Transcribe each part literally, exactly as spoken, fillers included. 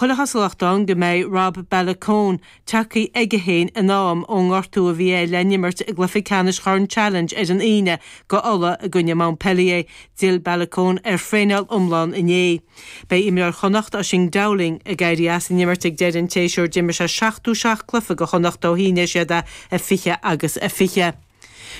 Chuile chosúlacht ann go mbeidh Rob Baloucoune tagtha aige féin in am ón ngortú a bhí air le n-imirt i gcluiche ceannais Chorn Challenge ar an Aoine go Uladh i gcoinne Montpellier. D'fhill Baloucoune ar thraenáil iomlán inné. Beidh imreoir Chonnacht Oisín Dowling ag éirí as an imirt ag deireadh an tséasúir. D'imir sé seachtó seacht cluiche go Chonnacht ó shínigh siad é a fiche agus a fiche.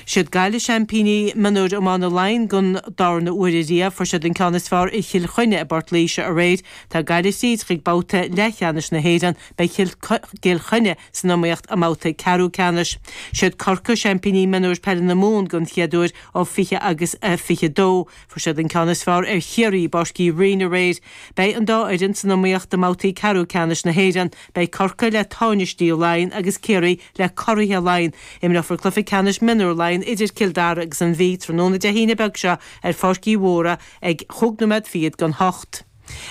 Siad Gaillimh seaimpíní mionúir iomána Laighean don darna huair ariamh. Fuair siad an ceann is fearr ar Chill Chainnigh i bPort Laoise aréir. Tá Gaillimh tríd chuig babhta leathcheannais na hÉireann. Beidh Cill Chainnigh san iomaíocht i mbabhta ceathrú ceannais. Siad Corcaigh seaimpíní mionúir peile na Mumhan don chéad uair ó fiche agus a fiche dó. Fuair siad an ceann is fearr ar Chiarraí i bPáirc Uí Rinn aréir. Beidh an dá fhoireann san iomaíocht i mbabhtaí ceathrú ceannais na hÉireann. Beidh Corcaigh le tánaistí Laighean agus Ciarraí le curaithe Laighean. Imreofar cluiche ceannais mionúr Laighean idir Cill Dara agus an Mhí tráthnóna Dé hAoine beag seo ar Pháirc Uí Mhórdha ag chúig nóiméad fichead don hocht.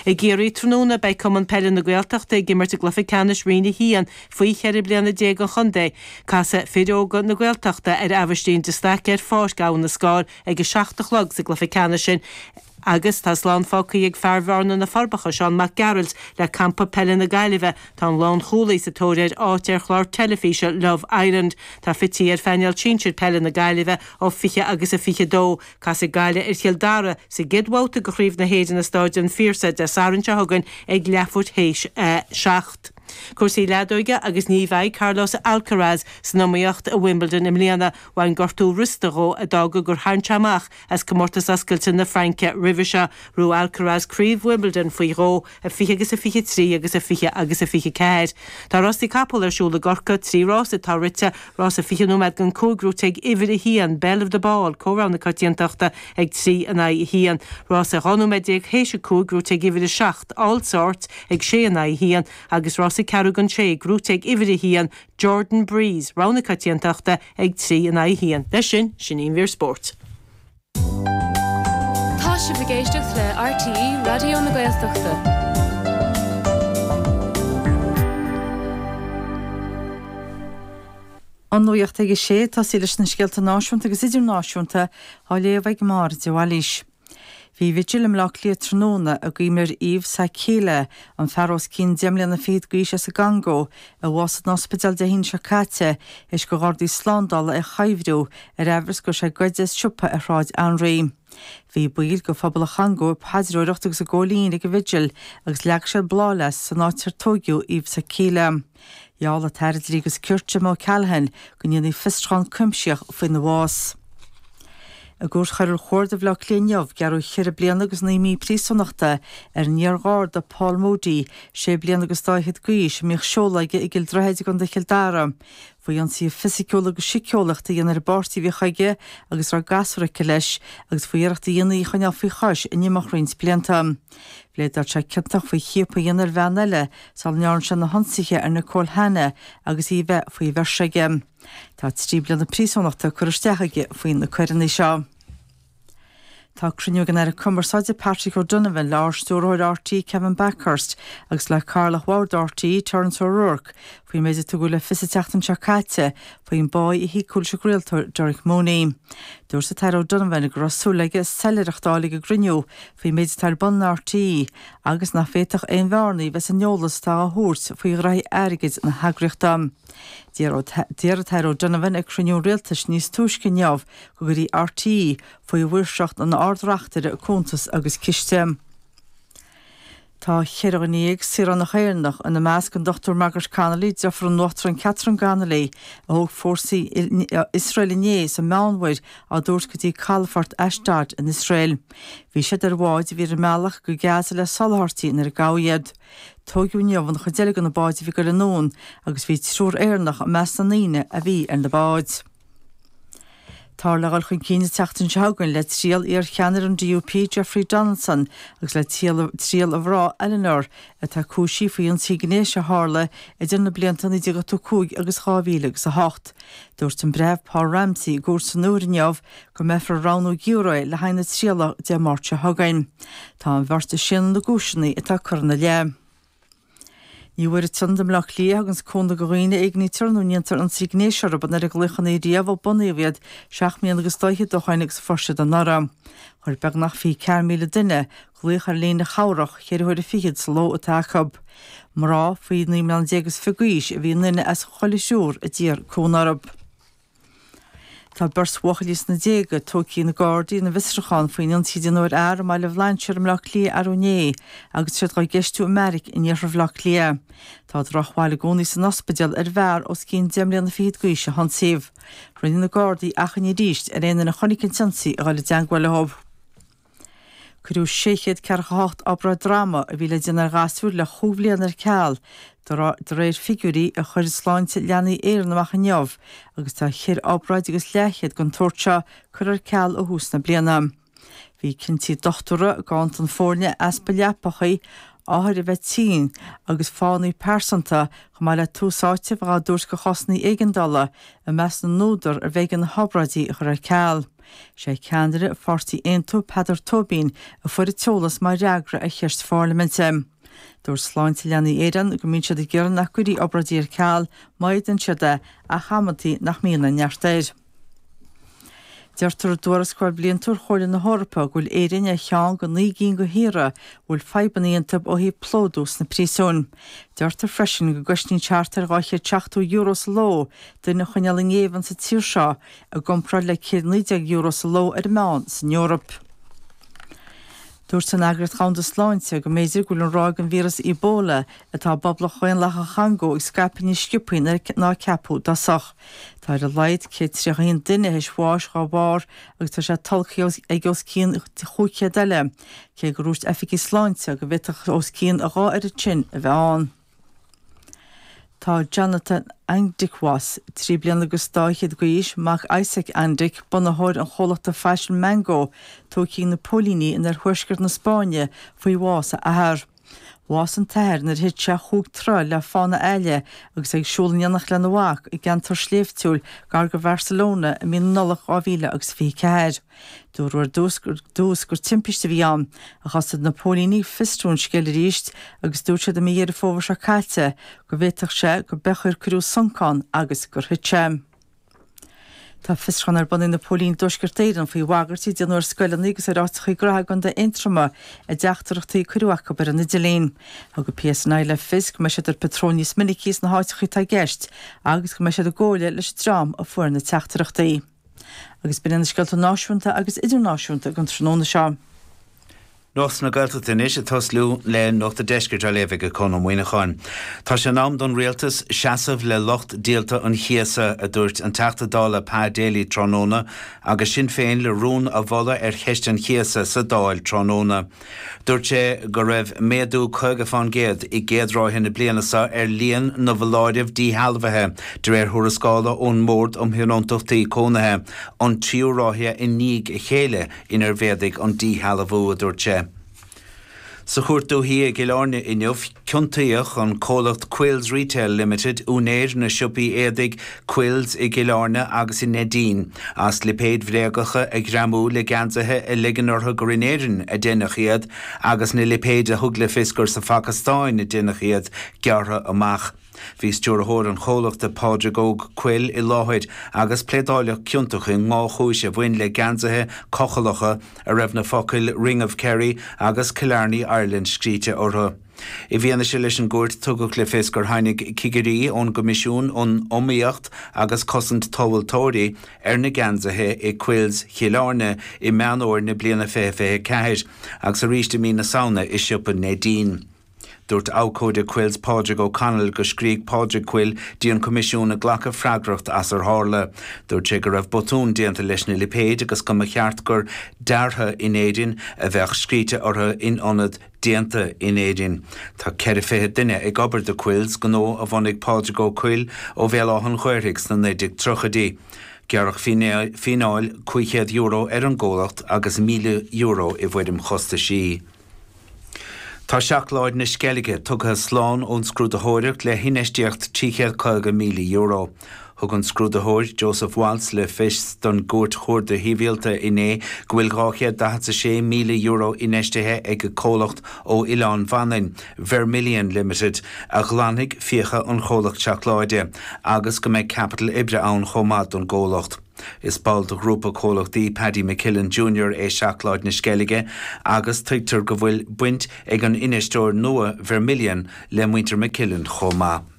I gCiarraí tráthnóna beidh Cumann Peile na Gaeltachta ag imirt i gcluiche ceannais Roinn a haon faoi cheithre bliana déag an chontae. Casfaidh fir óga na Gaeltachta ar Aibhistín de Staic ar Pháirc Abha na Scáil ag a seacht a chlog sa gcluiche ceannais sin. Agus tá slán fágtha ag fear Bhearna na Forbacha, Seán Mac Gearailt, le campa peile na Gaillimhe. Tá an lánchúlaí sa tóir ar áit ar chlár teilifíse Love Island. Tá Fitzy ar phainéal sinsir peile na Gaillimhe ó fiche agus a fiche dó. Casfaidh Gaillimh ar Chill Dara sa gcéad bhabhta de Chraobh na hÉireann i Stáid an Phiarsaigh Dé Sathairn seo chugainn ag leathuair théis a seacht. Cúrsaí leadóige agus ní bheidh Carlos Alcaraz san iomaíocht i Wimbledon i mbliana. Bhain gortú rosta dhó a d'fhág gur tharraing sé amach as Comórtas Oscailte na Fraince roimhe seo. Bhuaigh Alcaraz craobh Wimbledon faoi dhó, a fiche agus a fiche trí agus a fiche agus a fiche ceathair. Tá rásaí capall ar siúl i gCorcaigh, trí rás atá rite, rása fiche nóiméad don cúig gnúite ag uimhir a haon, Belle of the Ball, comhrogha na coitiantachta, ag trí in aghaidh a haon. Rása dhá nóiméad déag théis a cúig gnúite ag uimhir a seacht, All Sorts, ag sé in aghaidh a haon, agus rása ceathrú don sé, gnúite ag uimhir a haon, Jordan Breeze, rogha na coitiantachta, ag trí in aghaidh a haon. Leis sin, sin í an mhír spóirt. Tá sibh ag éisteacht le R T É Raidió na Gaeltachta. An nuacht ag a sé, tosaí leis na scéalta náisiúnta agus idirnáisiúnta á léamh ag Máire de Bhailís. Bhí vigil i mBleá Cliath tráthnóna i gcuimhne ar Yves Sakila, an fear os cionn deich mbliana fichead d'aois as an gCongó, a bhásaigh in ospidéal Dé hAoine seo caite théis do ghardaí slándála é a chuibhriú ar amhras go raibh sé ag goid as siopa ar Shráid Anraí. Bhí baill de phobal an Chongó ag paidreoireacht agus ag gabháil fhoinn ag an vigil agus leag siad bláthfhleasc san áit ar tóigeadh Yves Sakila. Gheall an tAire Dlí agus Cirt Jim O'Callaghan go ndéanfaí fiosrúchán cuimsitheach faoina bhás. I gCúirt Choiriúil Chuarda Bhaile Átha Cliath inniu, gearradh ceithre bliana agus naoi mí príosúnachta ar an iar-gharda Paul Moody, sé bliana agus dá fhichead d'aois, a mbíodh seoladh aige i gCill Droichid i gContae Chill Dara, faoi ionsaithe fisiciúla agus síceolaíochta a dhéanamh ar an bpáirtí a bhíodh aige agus a raibh gasúr aici leis, agus faoi iarracht a dhéanamh í a choinneáil faoi chois in imeacht roinnt blianta. Phléadáil sé ciontach faoi chiapadh a dhéanamh ar bhean eile sula ndearna sé na hionsaithe ar Nicole Hanna agus í a bheith faoi bheirt aige. Tá trí bliana príosúnachta curtha isteach aige faoi na coireanna seo. Tá cruinniú ag an Aire Cumarsáide Patrick O'Donovan le Ard-Stiúrthóir R T É Kevin Bakhurst agus le Cathaoirleach Bhord R T É Terence O'Rourke faoin méid a tugadh le fios an tseachtain seo caite faoin bpá a híocadh leis an gcraoltóir Derek Mooney. Dúirt an tAire O'Donovan go raibh súil aige soiléireacht a fháil ag an gcruinniú faoin méid atá ar bun in R T É agus nach bhféadfadh aon bhearnaí bheith san eolas atá á thabhairt faoi ghraithí airgid na heagraíochta. D'iarr an tAire O'Donovan ag cruinniú an rialtais níos túisce inniu go gcuirfí R T É faoi mhaoirseacht an Ard-Reachtaire Cuntas agus Ciste. Tá ceithre dhuine dhéag saoránach Éireannach, ina measc an Dochtúir Margaret Connolly, deirfiúr an Uachtaráin Catherine Connolly, a thóg fórsaí Iosrael inné sa Meánmhuir á dtabhairt go dtí calafort Ashdod in Iosrael. Bhí siad ar bhád a bhí ar a mbealach go Gaza le soláthairtí nuair a gabhadh iad. Tóigeadh inniu an chuid eile de na báid a bhí ag goil anonn agus bhí triúr Éireannach i measc na ndaoine a bhí ar na báid. Táthar le dhul chun cinn an tseachtain seo chugainn le triail iar-cheannaire an D U P Jeffrey Donaldson agus le triail a mhná Eleanor atá cúisithe faoi ionsaí gnéis a tharla idir na blianta naoi déag ochtó cúig agus dhá mhíle agus a hocht. Dúirt an Breitheamh Paul Ramsey i gcúirt san Iúr inniu go mbeifear ag roghnú giúiré le haghaidh na trialach Dé Máirt seo chugainn. Tá an bheirt ag séanadh na gcúiseanna atá curtha ina leith. Ní bhfuair an tIonad i mBleá Cliath a thuganns cúnamh do dhaoine a éignítear nó a ndéantar ionsaí gnéis orthu an oiread glaochanna riamh ó bunaíodh iad seacht mbliana agus dá fhichead ó shoin agus a fuair siad anuraidh. Chuir beagnach fiche ceathair míle duine Glaoch ar líne chabhrach ceithre huaire fichead sa ló atá acu. Mná faoi naoi mbliana déag is fiche d'aois a bhí i nduine as chuile thriúr a d'iarr cúnamh orthu. Tá beirt bhuachaillí sna déaga tógtha ag na Gardaí ina bhfiosrúchán faoin ionsaí a déanadh ar fhear i mBaile Bhlainséir i mBleá Cliath arú inné agus iad dhá gceistiú i mbeairic in iarthar Bhaile Átha Cliath. Tá drochbhail i gcónaí san ospidéal ar bhfear os cionn deich mbliana fichead d'aois a hionsaíodh. Rinne na Gardaí achainí arís ar aon duine a chonaic an t-ionsaí a dhul i dteangmháil leo. Cuireadh sé chéad ceathracha a hocht obráid droma a bhí le déanamh ar ghasúir le chúig bhliana ar ceal, de réir figiúirí a chuir Sláinte Leanaí Éireann amach inniu, agus tá ceithre obráid agus leathchéad den tsórt seo curtha ar ceal ó thús na bliana. Bhí cinntí dochtúra, ganntan foirne, easpa leapachaí, othair a bheith tinn agus fáthanna pearsanta, chomh maith le tús áite a bheith á dtabhairt do chásanna éigeandála, i measc na n-údar arbh éigean na hobráidí a chur ar ceal. Sé ceannaire pháirtí Aontú, Peadar Tóibín, a fuair an t-eolas mar fhreagra ar cheist pharlaiminte. Dúirt Sláinte Leanaí Éireann go mbíonn siad ag iarraidh nach gcuirfí obráidí ar ceal má fhéadann siad é, ach amantaí nach mbíonn an neart air. Deirtear i dtuarascáil bhliantúil Chomhairle na hEorpa go bhfuil Éirinn ar cheann de naoi gcinn de thíortha a bhfuil fadhbanna iontu ó thaobh plódú sna príosúin. Deirtear freisin go gcosnaíonn sé thart ar dhá chéad seachtó euro sa ló duine a choinneáil i ngéibheann sa tír seo i gcomparáid le céad naoi déag euro sa ló ar an meán san Eoraip. Dúirt an Eagraíocht Dhomhanda Sláinte go mb'fhéidir go bhfuil an ráig den víreas Ebola atá i bPoblacht Dhaonlathach an Chongó ag scaipeadh níos sciobthaí ná a ceapadh i dtosach. Tá ar a laghad céad tríocha a haon duine théis bháis dá bharr agus tá sé tolgtha ag os cionn chúig chéad eile, cé gur dhúirt oifigigh sláinte go bhféadfadh os cionn a dhá oiread sin a bheith ann. Tá Jonathan Andic Was, trí bliana agus dá fhichead d'aois, mac Isak Andic, bunaitheoir an chomhlachta faisin Mango, tógtha ag na póilíní in oirthuaisceart na Spáinne faoi bhás a athar. Bhásaigh an t-athair nuair a thit sé chúig troigh le fána aille agus é ag siúl in éineacht lena mhac i gceantar sléibhtiúil gar do Bharcelona i mí na Nollag dhá mhíle agus fiche ceathair. Dúradh ar dtús gur dtús gur timpiste a bhí ann, ach thosaigh na póilíní ag fiosrú an scéil arís agus dúirt siad i mí Dheireadh Fómhair seo caite go bhféadfadh sé go b'é gur cuireadh sonc ann agus gur thit sé. Tá fiosrúchán ar bun ag na póilíní i dTuaisceart Éireann faoi bhagairtí a déanadh ar scoileanna agus ar áiteacha gnoithe i gContae Aontroma i dteachtaireachtaí a cuireadh acu ar an idirlíon. Thug an PSNI le fios go mbeidh siad ar patról níos minicí sna háiteacha atá i gceist agus go mbeidh siad i gcomhairle leis an dream a fuair na teachtaireachtaí. Agus b'in iad na scéalta náisiúnta agus idirnáisiúnta don tráthnóna seo. Nuacht na Gaeltachta anois ag tosú le Nuacht an Deiscirt á léamh ag Conn Ó Muíneacháin. Tá sé in am don rialtas seasamh le lucht díolta an chíosa, a dúirt an Teachta Dála Pa Daly tráthnóna, agus Sinn Féin le rún a mholadh ar cheist an chíosa sa Dáil tráthnóna. Dúirt sé go raibh méadú caoga fán gcéad i gcéad ráithe na bliana seo ar líon na bhfoláireamh díshealbhaithe, de réir thuarascála ón mBord um Thionóntachtaí Cónaithe, an tríú ráithe i ndiaidh a chéile inar mhéadaigh an díshealbhú, a dúirt sé. Sa Chúirt Dúiche i gCill Airne inniu, ciontaíodh an comhlacht Quills Retail Limited, úinéir na siopaí éadaigh Quills i gCill Airne agus i Neidín, as lipéid bhréagacha a ghreamú le geansaithe a ligean orthu gur in Éirinn a deineadh iad agus na lipéid a thug le fios gur sa Phacastáin a deineadh iad gearrtha amach. Bhí stiúrthóir an chomhlachta Pádraig Óg Quill i láthair agus pléadáladh ciontach i ndhá chúis a bhain le geansaithe cochallacha a raibh na focail 'Ring of Kerry' agus 'Killarney Ireland' scríte orthu. I bhfianaise leis an gcúirt tugadh le fios gur tháinig cigirí ón gCoimisiún um Iomaíocht agus Cosaint Tomhaltóirí ar na geansaithe i Quills Chill Airne i Meán Fhómhair na bliana fiche fiche ceathair agus arís i mí na Samhna i siopa Neidín. Dúirt abhcóide Quills Pádraig O'Connell go scrígh Pádraig Quill dtí an Coimisiún ag glacadh freagracht as ar tharla. Dúirt sé go raibh botún déanta leis na lipéid agus go mba cheart gur 'Deartha in Éirinn' a bheadh scríte orthu in ionad 'Déanta in Éirinn'. Tá ceithre fiche duine ag obair do Quills, gnó a bhunaigh Pádraig Ó Cuill ó Bhéal Átha an Ghaorthaidh sna naoi déag tríochaidí. Gearradh fíneáil cúig chéad euro ar an gcomhlacht agus míle euro i bhfoirm chostaisí. Tá Seacláid na Sceilge tugtha slán ón scrúdaitheoireacht le hinfheistíocht trí chéad caoga míle euro. Thug an scrúdaitheoir Joseph Walsh le fios don gCúirt Chuarda Shibhialta inné go bhfuil dhá chéad daichead a sé míle euro infheistithe ag comhlacht ó Oileán Mhanainn, Vermilion Limited, a ghlanfaidh fiacha an chomhlacht seacláide agus go mbeidh caipitil oibre ann chomh maith don gcomhlacht. Is ball de ghrúpa comhlachtaí Paddy McKillen Junior é Seacláid na Sceilge agus tuigtear go bhfuil baint ag an infheisteoir nua Vermilion le muintir McKillen chomh maith.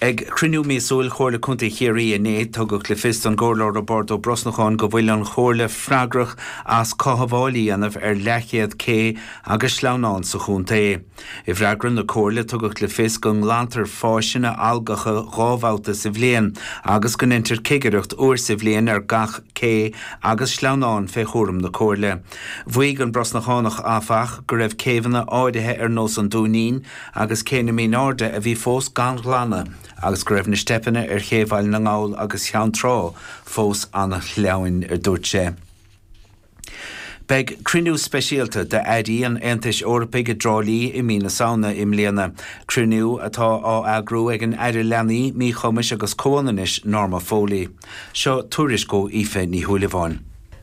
Ag cruinniú míosúil Chomhairle Contae Chiarraí inné tugadh le fios don gComhairleoir Roibeárd Ó Brosnacháin go bhfuil an Chomhairle freagrach as cothabháil a dhéanamh ar leathchéad cé agus sleamhnán sa chontae. I bhfreagra na Comhairle tugadh le fios go nglantar fáiseanna algacha dhá bhabhta sa bhliain agus go ndéantar cigireacht uair sa bhliain ar gach cé agus sleamhnán fé chúram na Comhairle. Mhaígh an Brosnachánach áfach go raibh céibheanna áirithe ar nós an Dúinín agus Cé na Mín Airde a bhí fós gan ghlanadh agus go raibh na steipeanna ar Ché Bhaile na nGall agus Cheann Trá fós an-shleamhain a dúirt sé. Beidh cruinniú speisialta d'airí an Aontais Eorpaigh i dTrá Lí i mí na Samhna i mbliana, cruinniú atá á eagrú ag an Aire Leanaí, Míchumais agus Comhionannais Norma Foley. Seo tuairisc ó Aoife Ní Shúilleabháin.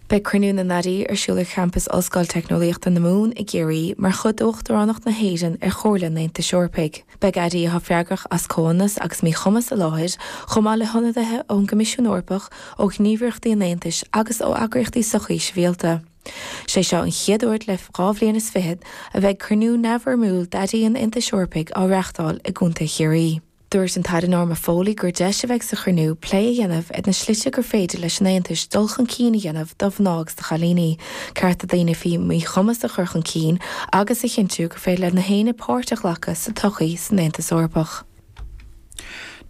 Beidh cruinniú na n-airí ar siúl ar champas Ollscoil Teicneolaíochta na Mumhan i gCiarraí mar chuid d'Uachtaránacht na hÉireann ar Chomhairle an Aontais Eorpaigh. Beidh airí atá freagrach as comhionannas agus míchumas i láthair, chomh maith le hionadaithe ón gCoimisiún Eorpach, ó ghníomhaireachtaí an Aontais agus ó eagraíochtaí sochaí sibhialta. Sé seo an chéad uair le dhá bhliain is fiche a bheidh cruinniú neamhfhoirmiúil d'airí an Aontais Eorpaigh á reáchtáil i gContae Chiarraí. Dúirt an tAire Norma Foley gur deis a bheidh sa chruinniú plé a dhéanamh ar na slite gur féidir leis an Aontas dul chun cinn a dhéanamh do mhná agus do chailíní, cearta daoine faoi mhíchumas a chur chun cinn agus a chinntiú gur féidir le gach éinne páirt a ghlacadh sa tsochaí san Aontas Eorpach.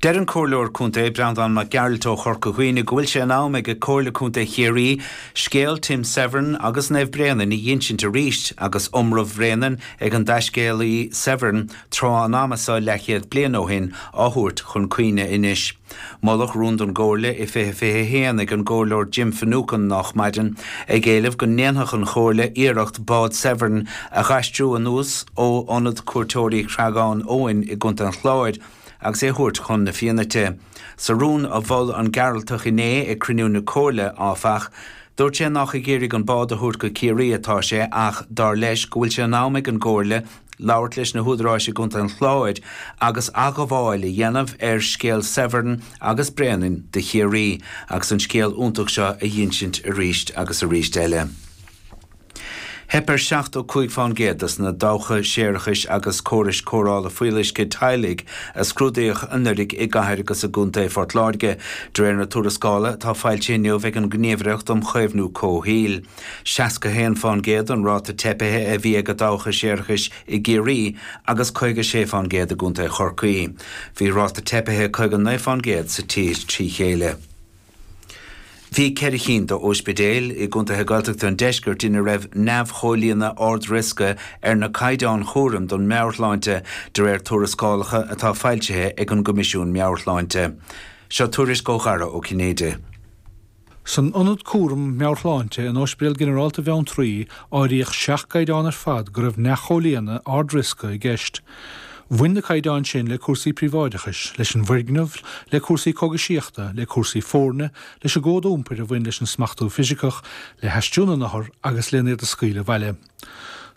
Deir an Comhairleoir Contae Breandán Mac Gearailt ó Chorca Dhuibhne go bhfuil sé in am ag Comhairle Contae Chiarraí scéal Tim Severn agus Naomh Bréanainn a insint arís agus iomramh Bhréanainn ag an dtaiscéalaí Severn tráth an ama seo leathchéad bliain ó shin á thabhairt chun cuimhne anois. Moladh rún don gComhairle i fiche fiche haon ag an gComhairleoir Jim Finucane nách maidin ag éileamh go ndéanfadh an Chomhairle iarracht bád Severn a dh'aistriú anuas ó ionad cuairteoirí Chreagán Eoin i gContae an Chláir agus é a thabhairt chun na Fiannaite. Sa rún a mhol an Gearaltach inné ag cruinniú na Comhairle áfach, dúirt sé nach ag iarraidh an bád a thabhairt go Ciarraí atá sé ach dar leis go bhfuil sé in am ag an gComhairle labhairt leis na húdaráis i gContae an Chláir agus athghabháil a dhéanamh ar scéal Severn agus Bréanainn do Chiarraí agus an scéal iontach seo a insint arís agus arís eile. Theip ar seachtó cúig faoin gcéad des na dabhcha séarachais agus córais cóireála fuíolluisce teaghlaigh a scrúdaíodh anuraidh i gcathair agus i gContae Phort Láirge, de réir na tuarascála atá foilsithe inniu ag an nGníomhaireacht um Chaomhnú Comhshaoil. Seasca haon faoin gcéad an ráta teipithe a bhí ag dabhcha séarachais i gCiarraí agus caoga sé faoin gcéad i gContae Chorcaí. Bhí ráta teipithe caoga naoi faoin gcéad sa tír trí chéile. Bhí ceithre cinn d'ospidéil i gcontaetha Gaeltachta an deiscirt ina raibh neamhchomhlíonadh ard-riosca ar na caighdeáin chúraim don meabhairshláinte de réir tuarascálacha atá foilsithe ag an gCoimisiún Meabhairshláinte. Seo tuairisc ó Dhara Ó Cinnéide. San ionad cúram meabhairshláinte in Ospidéal Ginearálta Bheanntraí áiríodh seacht gcaighdeán ar fad go raibh neamhchomhlíonadh ard-riosca i gceist. Bhain na caighdeáin sin le cúrsaí príobháideachais, leis an bhfoirgneamh, le cúrsaí cógaisíochta, le cúrsaí foirne, leis an gcód iompair a bhain leis an smachtú fisiceach, le haistriú na n-othar agus lena iad a scaoileadh abhaile.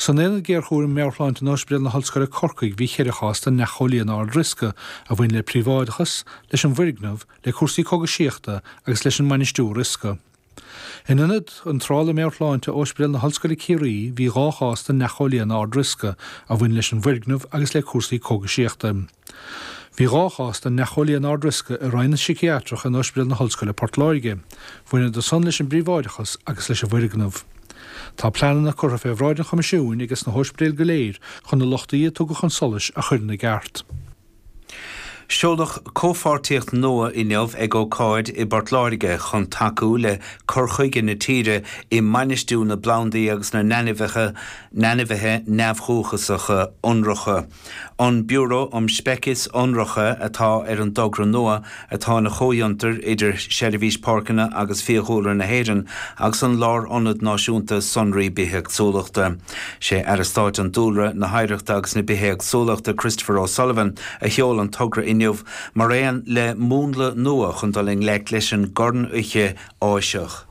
San aonad géarchúraim meabhairshláinte in Ospidéal na hOllscoile Corcaigh bhí ceithre chás de neamhchomhlíonadh ard-riosca a bhain le príobháideachas, leis an bhfoirgneamh, le cúrsaí cógaisíochta agus leis an mbainistiú riosca. In ionad iontrála meabhairshláinte Ospidéal na hOllscoile Ciarraí bhí dhá chás de neamhchomhlíonadh ard-riosca a bhain leis an bhfoirgneamh agus le cúrsaí cógaisíochta. Bhí dhá chás de neamhchomhlíonadh ard-riosca i Roinn na Síciatrach in Ospidéal na hOllscoile Port Láirge, bhaineadar san leis an bpríobháideachas agus leis an bhfoirgneamh. Tá pleananna curtha fé bhráid an Choimisiúin agus na hóispidéil go léir chun na lochtaí a tugadh chun solais a chur ina gceart. Seoladh comhpháirtíocht nua inniu ag ócáid i bPort Láirge chun tacú le cur chuige na tíre i mbainistiú na bplandaí agus na n-ainmhithe n-ainmhithe neamhdhúchasacha ionracha. An Biúró um Speicis Ionracha atá ar an dtogra nua atá ina chomhfhiontar idir Seirbhís Páirceanna agus Fiadhúlra na hÉireann agus an Lárionad Náisiúnta Sonraí Bithéagsúlachta. Sé Aire Stáit an Dúlra, na hOidhreachta agus na Bithéagsúlachta Christopher O'Sullivan a sheol an togra inniu mar aon le múnla nua chun dul i ngleic leis an gcornfhoiche Áiseach.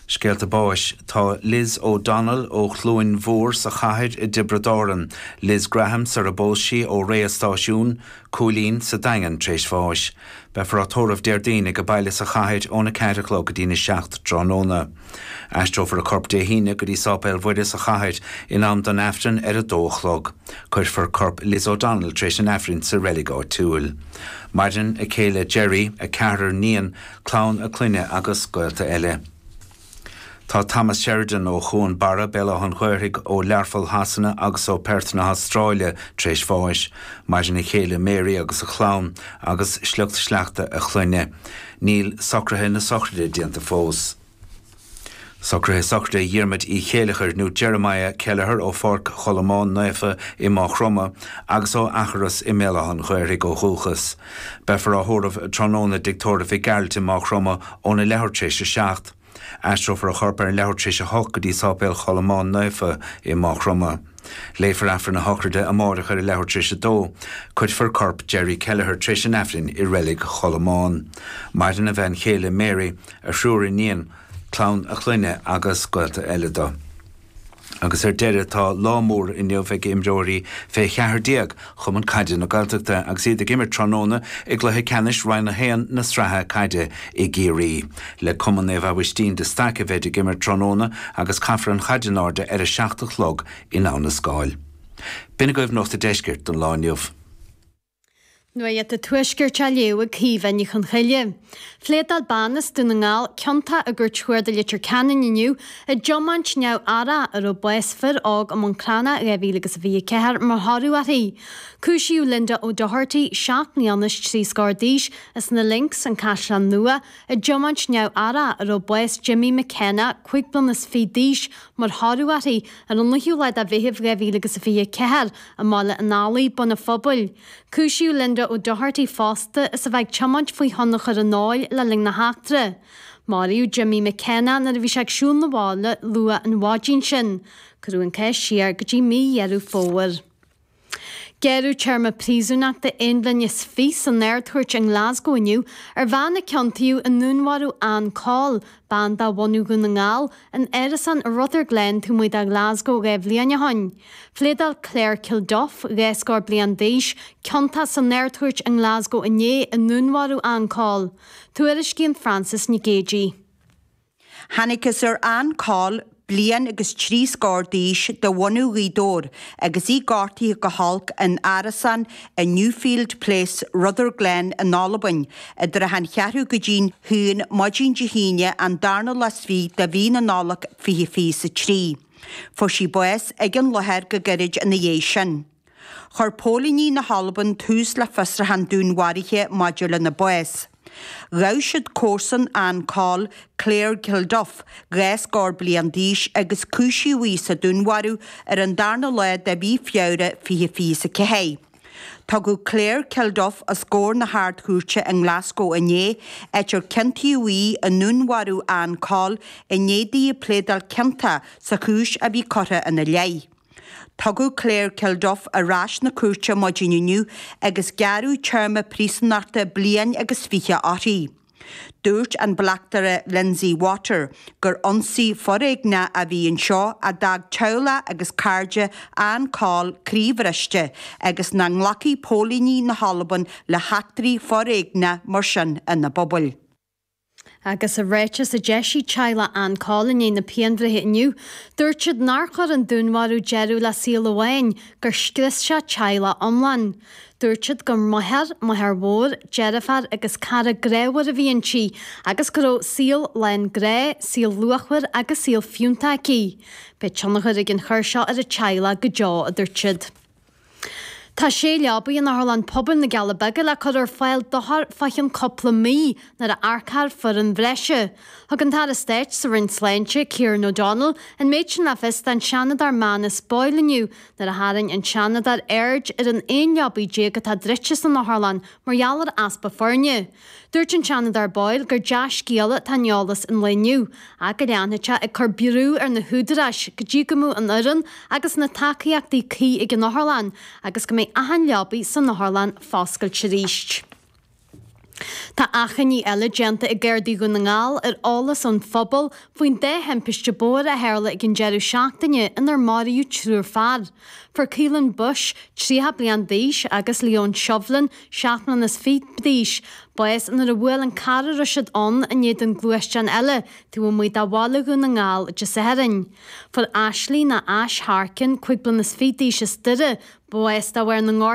Scéalta báis tá Liz O'Donnell ó Chluain Mhór sa chathair i dTiobraid Árann, Liz Graham sar a bpós sí ó Réidh Stáisiún, Cúilín sa Daingean tar éis bháis. Beifear á tórramh Déardaoin ag a baile sa chathair óna ceathair a chlog go dtí na seacht tráthnóna. Aistreofar a corp Dé hAoine go dtí Sáipéal Mhuire sa chathair in am don Aifreann ar a dó a chlog. Cuirfear corp Liz O'Donnell tar éis an Aifrinn sa reilig áitiúil. Maireann a céile Jerry, a ceathrar níon, clann a clainne agus gaolta eile. Tá Thomas Sheridan ó Chuan Barra Béal Átha an Ghaorthaidh ó Learpholl Shasana agus ó Perth na hAstráile tar éis bháis, maireann a chéile Mary agus a chlann agus sliocht sleachta a chlainne. Níl socruithe na sochraide déanta fós. Socruithe sochraide Dhiarmuid Uí Chéileachair nó Jeremiah Kelleher ó Pháirc Cholmáin Naofa i Maigh Chromtha agus ó Eachros i mBéal Átha an Ghaorthaidh ó dhúchas. Beifear á thórramh tráthnóna i dtigh tórraimh Mhic Gearailt i Maigh Chromtha óna leathuair tar éis a seacht. Aistreofar a chorp ar an leathuair tar éis a hocht go dtí Sáipéal Cholmáin Naofa i Maigh Chromtha. Léifear Aifreann a shochraide amárach ar a leathuair tar éis a dó. Cuirfear corp Jerry Kelleher tar éis an Aifrinn i reilig Cholmáin. Maireann a bhean chéile Mary, a thriúr iníon, clann a clainne agus gaolta eile dó. Agus ar deireadh tá lá mór inniu ag imreoirí fé cheathair déag Chumann Caide na Gaeltachta agus iad ag imirt tráthnóna i gcluiche ceannais Roinn a haon na sraithe caide i gCiarraí. Le Cumann Naomh Aibhistín de Staic a bheid ag imirt tráthnóna agus caithfear an chaid in airde ar a seacht a chlog in Abha na Scáil. B'in agaibh Nuacht an Deiscirt don lá inniu. Nuacht an Tuaiscirt á léamh ag Caoimhe Ní Chonchoille. Phléadáil bean as Dún na nGall ciontach i gCúirt Chuarda Leitir Ceanainn inniu i dtiomáint neamh-aireach a raibh bás fir óg i mBun Cranncha dhá mhíle agus a fiche a ceathair mar thoradh uirthi. Cúisíodh Linda O'Doherty, seacht mbliana is trí scór d'aois, as na Links, an Caisleán Nua, i dtiomáint neamh-aireach a raibh bás Jimmy McKenna, cúig bliana is fiche d'aois, mar thoradh uirthi ar an naoú lá de Mheitheamh dhá mhíle agus a fiche a ceathair i mBaile an Fhailí, Bun an Phobail. Cúisíodh Linda O'Doherty fosta as a bheith ag tiomáint faoi thionchar an óil le linn na heachtra. Maraíodh Jimmy McKenna nuair a bhí sé ag siúl 'na bhaile luath an mhaidin sin. Cuireadh an cás siar go dtí mí Dheireadh Fómhair. Gearradh téarma príosúnachta aon bhliain is fiche san Ard-Chúirt i nGlasgow inniu ar bhean a ciontaíodh i ndúnmharú Ann Coll, bean de bhunadh Dhún na nGall, in árasán i Rutherglen taobh amuigh de Ghlasgow dhá bhliain ó shin. Phléadáil Claire Kilduff, dhá scór bliain d'aois, ciontach san Ard-Chúirt i nGlasgow inné i ndúnmharú Ann Coll. Tuairiscíonn Frances Nic Géadaigh. Thángthas ar Ann Coll, bliain agus trí scór d'aois, de bhunadh Ghaoth Dobhair, agus í gortaithe go holc in árasán i Newfield Place, Rutherglen in Albain, i dtrátha an cheathrú go dtí'n haon maidin Dé hAoine an darna lá is fiche de mhí na Nollag fiche fiche is a trí. Fuair sí bás ag an láthair go gairid ina dhiaidh sin. Chuir póilíní na hAlban tús le fiosrúchán dúnmharaithe maidir lena bás. Ghabh siad comharsan Ann Coll, Claire Kilduff, dhá scór bliain d'aois agus cúisíodh í sa dúnmharú ar an darna lá de mhí Feabhra fiche fiche is a ceathair. Tugadh Claire Kilduff os comhair na hArd-Chúirte i nGlasgow inné, áit ar ciontaíodh í i ndúnmharú Ann Coll i ndiaidh di pléadáil ciontach sa chúis a bhí curtha ina leith. Tugadh Claire Kilduff ar ais 'na cúirte maidin inniu agus gearradh téarma príosúnachta bliain agus fiche uirthi. Dúirt an Bleachtaire Lindsay Water gur ionsaí foréigneach a bhí anseo a d'fhág teaghlach agus cairde Ann Coll croíbhriste agus nach nglacfaidh póilíní na hAlban le heachtraí foréigneacha mar sin ina bpobail. Agus i ráiteas a d'eisigh teaghlach Ann Coll i ndiaidh na pianbhreithe inniu, dúirt siad nár chuir an dúnmharú deireadh le saol amháin, gur scrios sé teaghlach iomlán. Dúirt siad gur máthair, máthair mhór, deirfiúr agus cara grámhar a bhí inti agus go raibh saol lán grá, saol luachmhar agus saol fiúntach aici. Beidh tionchar ag an chor seo ar a teaghlach go deo, a dúirt siad. Tá sé leabaidh in Otharlann Pobail na gCealla Beaga le cur ar fáil d'othair fá cheann cúpla mí nuair a earcófar foireann bhreise. Thug an tAire Stáit sa Roinn Sláinte, Kieran O'Donnell, an méid sin le fios don Seanadóir Manus Boyle inniu nuair a tharraing an Seanadóir aird ar an aon leabaidh déag atá druidte san otharlann mar gheall ar easpa foirne. Dúirt an Seanadóir Boyle gur dea-scéala atá in eolas an lae inniu, ach go leanfaidh sé ag cur brú ar na húdaráis go dtí go mbeidh an fhoireann agus na tacaíochtaí cuí ag an otharlann agus go mbeidh achan leabaidh san otharlann foscailte arís. Tá achainí eile déanta ag Gardaí Dhún na nGall ar eolas ón phobal faoin dá thimpiste bóthair a tharla ag an deireadh seachtaine inar maraíodh triúr fear. Fuair Keelan Bush, tríocha bliain d'aois, agus Leon Shovlin, seacht mbliana is fiche d'aois, bás nuair a bhuail an carr a raibh siad ann in éadan gluaisteán eile taobh amuigh de bhaile Dhún na nGall Dé Sathairn. Fuair Ashley nó Ash Harkin, cúig bliana is fiche d'aois as Doire, bás de bharr na ngortuithe.